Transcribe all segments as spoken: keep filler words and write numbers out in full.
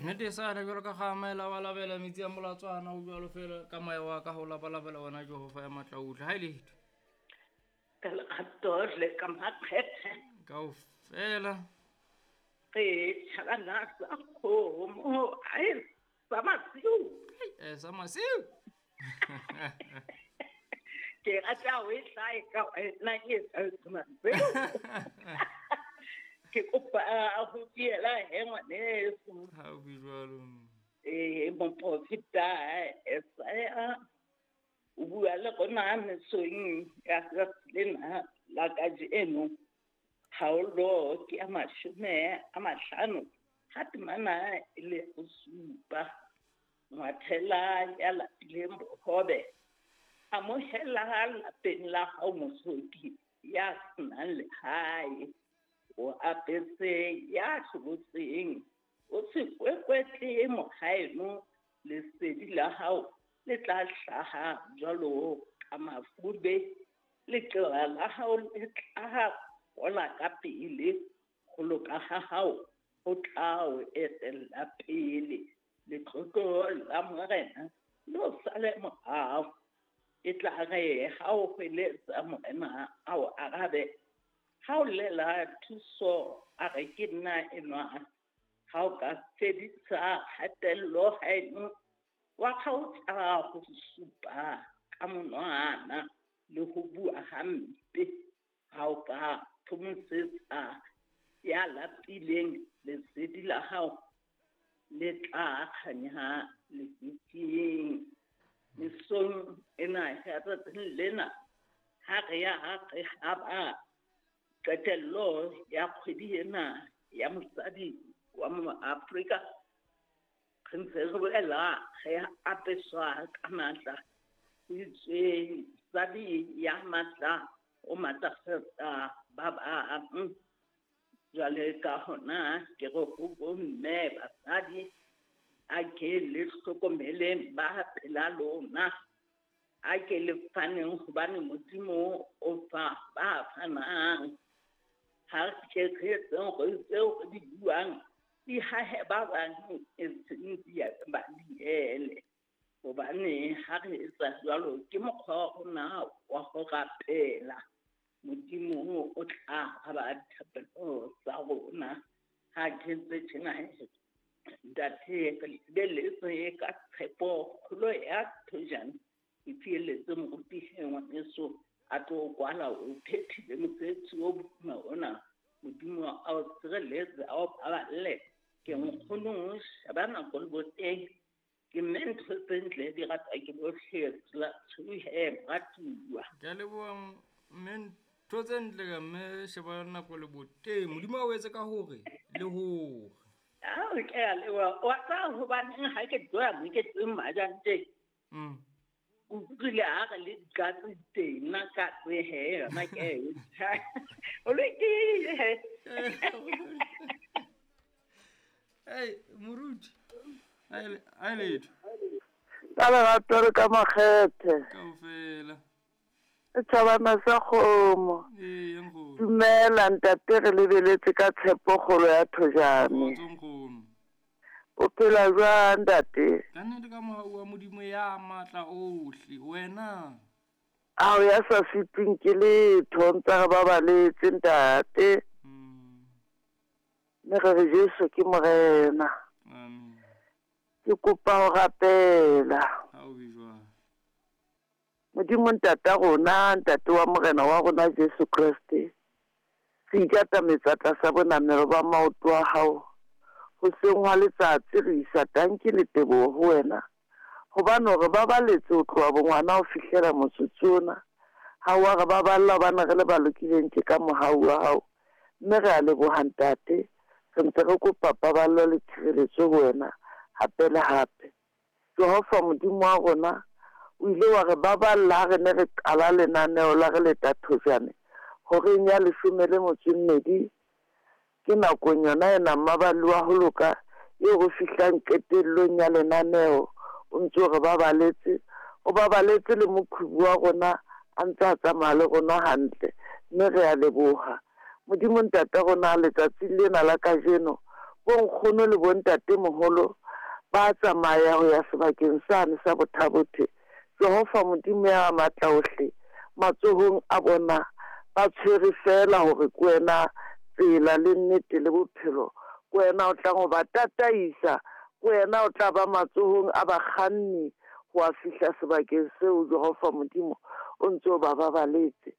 Nnete e sa le jwalo ka ga labalabela metsi a molatswana o jwalo fela ka moya wa ka ho labalabela wena Jehova ya matla ohle. Ha e letho. Ka lerato le ka makgethe. Kaofela. Re tjhabana sa kgomo, ai sa masiu. Eh sa masiu. Ke rata ho e hlae ka wena ke sa masiu. Ke kopa ho fiela he ngwaneso. Ha o bue jwalo. Eh moprofeta Esaya o bua le rona mesong ya tsatsi lena la kajeno. Kgaolo ke ya mashome a mahlano ha temana e le ho supa. Ngwathela ya lapileng bohobe, amohela lapeng la hao mohloki ya senang lehae. O apese ya hlobotseng, o se kwekwetle mohaeno, lesedi la hao le tla hlaha jwalo ka mafube, leqeba la hao le tla hola ka pele, ho loka ha hao ho tla o etella pele, letlotlo la Morena le o sale morao. E tla re ha o hweletsa Morena a o arabe, ha o lela thuso a re ke nna enwa. Ha o ka fedisa kgatello haeno, wa kgaotsa ho supa ka monwana le ho bua hampe. Ha o ka phomosetsa ya lapileng, lesedi la hao le tla kganya lefifing. Mesong ena ya tsatsing lena, ha re ya re haba qetello ya kgwedi ena ya mosadi wa Moafrika, re ntse re boela re apeswa ka matla. Ho itswe mosadi ya matla o matlafatsa ba bang. Jwale ka hona ke re ho bomme basadi, a ke le hlokomeleng ba pela lona, a ke le faneng hobane Modimo o fa ba fanang. Ha re ke re etseng hore tseo re di buang di hahe ba bang, e seng di ba diele. Hobane ha re etsa jwalo ke mokgwa wa rona wa ho rapela. Modimo o tla araba dithapelo tsa rona. Ha ke ntse tjena, ntate, re lebeletse ka tshepo kgolo ya thojane. Ke fieletse moruti ngwaneso a tlo kwala, o phethile mosebetsi o boima ona. Modimo a o sireletse, a o paballe. Ke nkgono sheba nako le boteng. Ke mme ntho tse ntle di ratwa ke bohle, tsela tshohe moratuwa. Ke a leboha mme ntho tse ntle ka mme sheba nako le boteng. Modimo a o etse ka hore le hore. Ao ke a leboha. Wa tseba hobaneng ha ke tloha moketeng majanteng? Mm. O utlwile ha re le dikatse teng, nna katse he yona ke e tjha. O lokile. Hey, moruti. A e letho. Ka lerato le ka makgethe. Kaofela. E tjhabana sa kgomo. Ee, nkgono. Dumela ntate, re lebeletse ka tshepo kgolo ya thojane. Kgotso nkgono. O phela jwang ntate? Ka nnete ka mohau wa Modimo ya matla ohle, wena. Ao ya sa sitweng ke letho, ntse re babaletse ntate. Mm. Mme re re Jesu ke Morena. Amen. Ke kopa ho rapela. Ha o be jwang? Modimo ntata rona, ntate wa Morena wa rona Jesu Kreste, re ikatametsa tlasa bonamelo ba maoto a hao. Hoseng hwa letsatsi re isa tanki le teboho ho wena, hobane hore ba baletse ho tloha bongwana ho fihlela motsotso ona. Ha wa re baballa hobane re le ba lokileng ke ka mohau wa hao. Mme re a leboha ntate, re ntse re kopa paballo le tshireletso ho wena hape le hape. Jehova Modimo wa rona, o ile wa re baballa ha re ne re qala lenaneo la re leta thojane horeng ya leshome le motso e mmedi. Ke nakong yona ena mmaballi wa ho loka eo re fihlang qetellong ya lenaneo. O ntse o re babaletse, o babaletse le moqhubu wa rona a ntse a tsamaya le rona hantle, mme re a leboha. Modimo ntate rona, letsatsing lena la kajeno Bonkgono le bontatemoholo ba tsamaya ho ya sebakeng sane sa Bothabothe. Jehova Modimo ya matla ohle, matsohong a bona ba tshwere fela hore ke wena tsela le nnete le bophelo. Ke wena o tlang ho ba tataisa, ke wena o tla ba matsohong a bakganni ho a fihla sebakeng seo. Jehova Modimo o ntse o ba babaletse.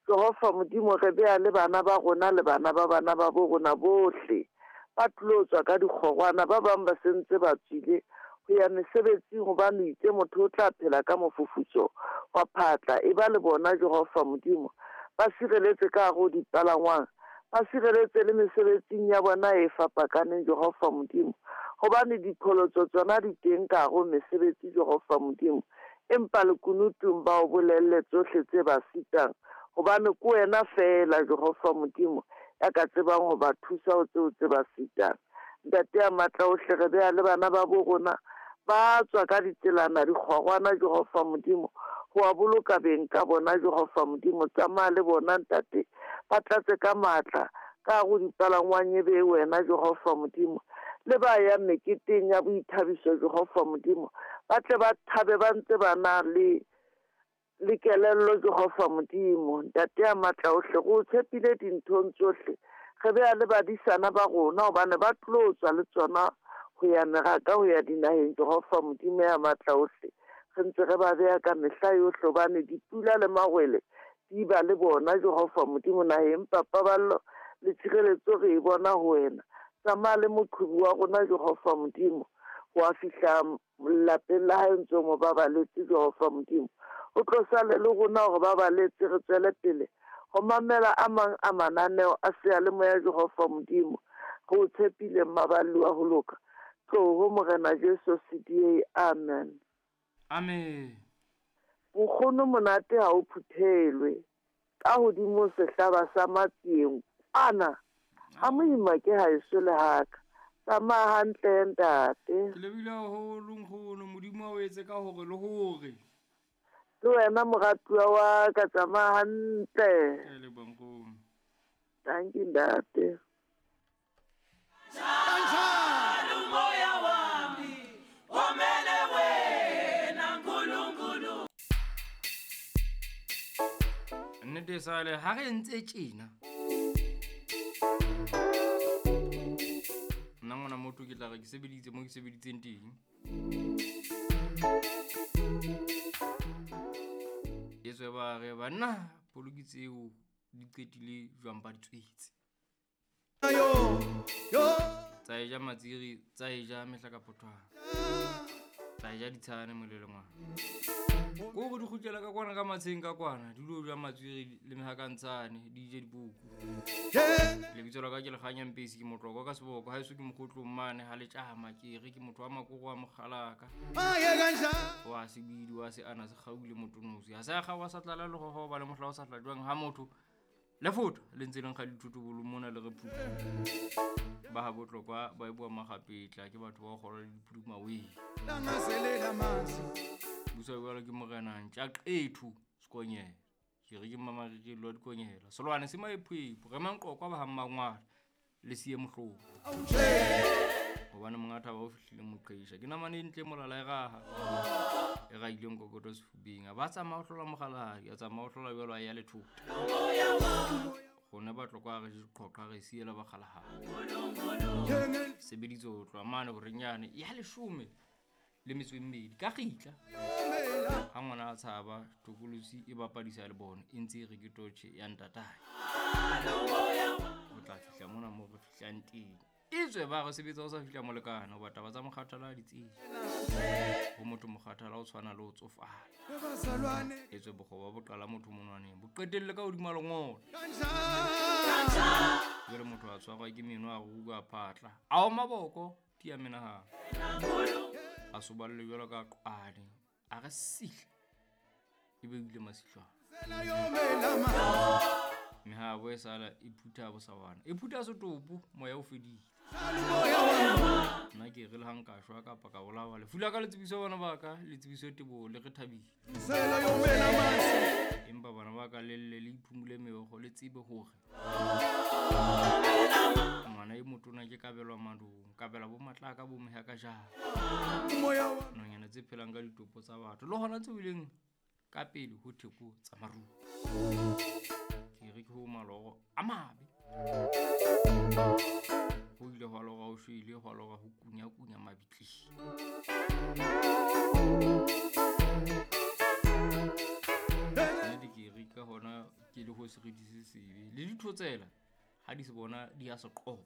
Jehova Modimo, re beha le bana ba rona le bana ba bana ba bo rona bohle ba tlilo tswa ka dikgorwana, ba bang ba sentse ba tswile ho ya mesebetsing, hobane o itse motho o tla phela ka mofufutso wa phatla. E ba le bona Jehova Modimo, ba sireletse ka hare ho dipalangwang, ba sireletse le mesebetsing ya bona e fapakaneng Jehova Modimo, hobane diqholotso tsona di teng ka hare ho mesebetsi Jehova Modimo. Empa lekunutung ba o bolelle tsohle tse ba sitang, hobane ke wena feela Jehova Modimo ya ka tsebang ho ba thusa ho tseo tse ba sitang. Ntate ya matla ohle, re beha le bana ba bo rona ba tswa ka ditselana dikgorwana Jehova Modimo, ho wa boloka beng ka bona Jehova Modimo. Tsamaya le bona ntate, ba tlatse ka matla ka hare ho dipalangwang e be wena Jehova Modimo. Le ba yang meketeng ya boithabiso Jehova Modimo, ba tle ba thabe ba ntse ba na le le kelello Jehova Modimo. Ntate ya matla ohle, re o tshepile dinthong tsohle. Re beha le badisana ba rona, hobane ba tlo tswa le tsona ho ya meraka, ho ya dinaheng Jehova Modimo ya matla ohle. Re ntse re ba beha ka mehla yohle, hobane dipula le mawele di ba le bona Jehova Modimo naheng. Empa paballo le tshireletso re e bona ho wena. Tsamaya le moqhubu wa rona Jehova Modimo, ho a fihla lapeng la hae ntse o mo babaletse Jehova Modimo. O tlo sale le rona hore ba baletse, re tswele pele ho mamela a mang a mananeo a seyalemoya Jehova Modimo. Re o tshepile mmaballi wa ho loka. Tloho Morena Jesu C D A. Amen. Amen. Nkgono monate ha o phuthelwe ka hodimo sehlaba sa matsieng ana ha moima ke haeso le haka. Tsamaya hantle ntate. Ke lebile haholo nkgono, Modimo a o etse ka hore le hore. Le wena moratuwa wa ka, tsamaya hantle. Ke a leboha nkgono. Thank you ntate. Nnete sale ha re ntse tjena. Nna ngwana motho ke tla re ke sebeditse mo ke sebeditseng teng. Etswe ba re banna poloki tseo di qetile jwang ba di tswetse. Tsa e ja matsiri, tsa e ja mehlakapothwana, tsa e ja ditshane molelengwana. Ko go di kgutlela ka kwana ka matsheng ka kwana, di lo ja matsiri le mehakantshane, di je dibuku. Lebitso la ka ke Lekganya Mpesi, ke motlokwa ka seboko, haeso ke mokgotlong mane ha le tjama, ke re ke motho wa makoko wa mokgalaka. Wa sebidi wa se ana se kgaule motonosi. Ha se a kgawa sa tlala le gogo ba le mohla o sa tla jwang ha motho. Le foto le ntse le nkga dithotobolo mona le re phupu. Ba ha botlokwa ba e bua magapetla ke batho ba kgora le diphuduma we. Busa jwalo ke morena ntja qethu sekonyela. Ke re ke mmamariri lo dikonyela. Solwane se maephepo re manqoqwa ba ha mmangwana le siye mohloko. Hobane monga thaba o fihlile moqeisha. Ke namane e ntle molala e raha. E raileng kokoto sefubeng. A ba tsamaya ho hlola mogaladi, a tsamaya ho hlola jwalo a ya lethota. Rona ba tlokwa re diqoqa re siela ba kgalahadi. Sebeditse ho tloha mane horenyane ya leshome le metso e mmedi ka kgitla. Ha ngwana a tshaba tokolosi e bapadisa le bona e ntse e re ke totjhe ya ntatae. O tla fihla mona mo re fihlang teng. Etswe ba re sebetsa o sa fihla molekane hoba taba tsa mokgathala ha di tsejwe. Ho motho mokgathala o tshwana le ho tsofala. Etswe bokgoba bo qala motho monwaneng bo qetelle ka hodima lengolo. Jwale motho a tshwarwa ke meno a ruka phatla. A oma boko tia menahano. A soballe jwalo ka qwane. A re sihla. Ebe o ile masihlwana. Mehabo e sala e phutha bosawana. E phutha setopo moya o fedile. Nna ke re le ha nka shwa kapa ka bolawa lefu la ka le tsebiso bana ba ka le tsebiso teboho le re thabile. Empa bana ba ka le lle le iphumule meokgo le tsebe hore ngwana e motona ke kabelwa madung, kabelwa bo matlaka bo mehaka jang. Nonyana tse phelang ka ditopo tsa batho le hona tseo e leng ka pele ho theko tsa maruo. Ke re ke ho maloro a mabe. Ho ile hwa lora ho shwele, hwa lora ho kunya-kunya mabitleng. Nnete ke re ka hona ke le ho seriti se sebe. Le dithotsela ha di se bona di a se qoba.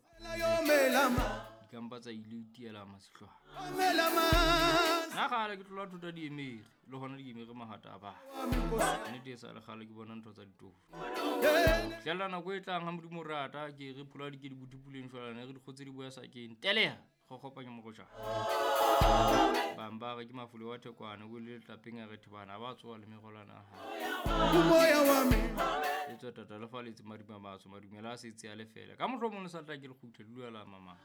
Di ka mpa tsa ile itiela masihlwana. Nna kgale ke tlola thota diemere, le hona diemere mahata a batho. Nnete e sa le kgale ke bona ntho tsa ditofo. Fihlella nako e tlang ha Modimo o rata, ke re phola di ke di botipuleng jwale, ne re dikgotse di boya sakeng. Teleha, kgokgopanya morojana. Bang ba re ke mafole wa thekwane, o le letlapeng a re thebana, ba tsoha le merolwana a hae. Le tswa tata le faletse madima matsho, madumela a setse a le fela. Ka mohlomong le sa tla ke le kgutle, le dula la mamang.